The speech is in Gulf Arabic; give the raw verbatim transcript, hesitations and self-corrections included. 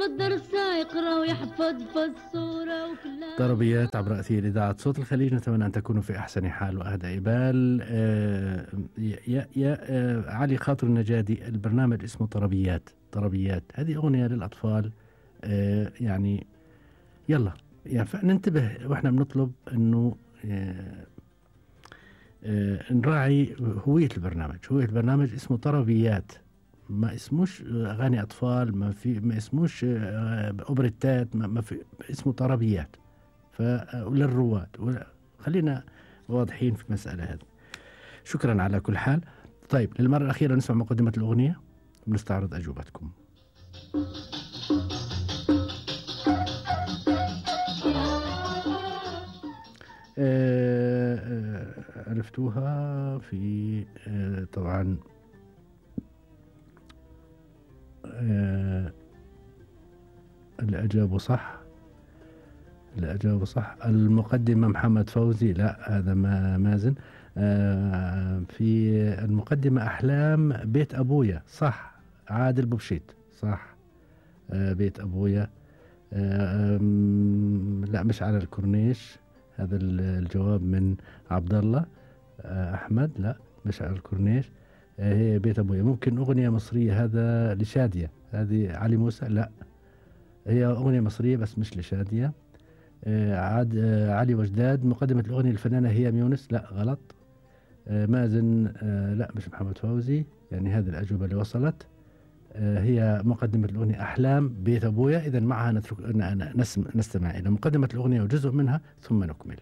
والدرس يقرأ ويحفظ في الصورة وكلها. طربيات عبر أثير إذاعة صوت الخليج، نتمنى أن تكونوا في أحسن حال وأهدى بال. آه يا يا آه علي خاطر النجادي، البرنامج اسمه طربيات. طربيات هذه أغنية للأطفال. آه يعني يلا يعني ننتبه وإحنا بنطلب إنه آه آه نراعي هوية البرنامج. هوية البرنامج اسمه طربيات، ما اسموش أغاني أطفال، ما في ما اسموش آه أوبريتات، ما, ما في اسمه طربيات. وللرواد خلينا واضحين في المسألة هذه. شكرا على كل حال. طيب للمرة الأخيرة نسمع مقدمة الأغنية ونستعرض أجوبتكم. عرفتوها في آه طبعا آه اللي أجابوا صح، اللي أجابوا صح. المقدمة محمد فوزي، لا هذا ما مازن. آه في المقدمة أحلام بيت أبويا، صح. عادل بوبشيت، صح. آه بيت أبويا. آه لا مش على الكورنيش، هذا الجواب من عبد الله. آه أحمد، لا مش على الكورنيش. آه هي بيت أبويا. ممكن أغنية مصرية، هذا لشادية. هذه علي موسى، لا هي أغنية مصرية بس مش لشادية. آه عاد آه علي وجداد. مقدمة الأغنية الفنانة هي يونس، لا غلط. آه مازن، آه لا مش محمد فوزي. يعني هذه الأجوبة اللي وصلت. آه هي مقدمة الأغنية أحلام بيت أبويا. إذن معها نترك نستمع إلى مقدمة الأغنية وجزء منها ثم نكمل.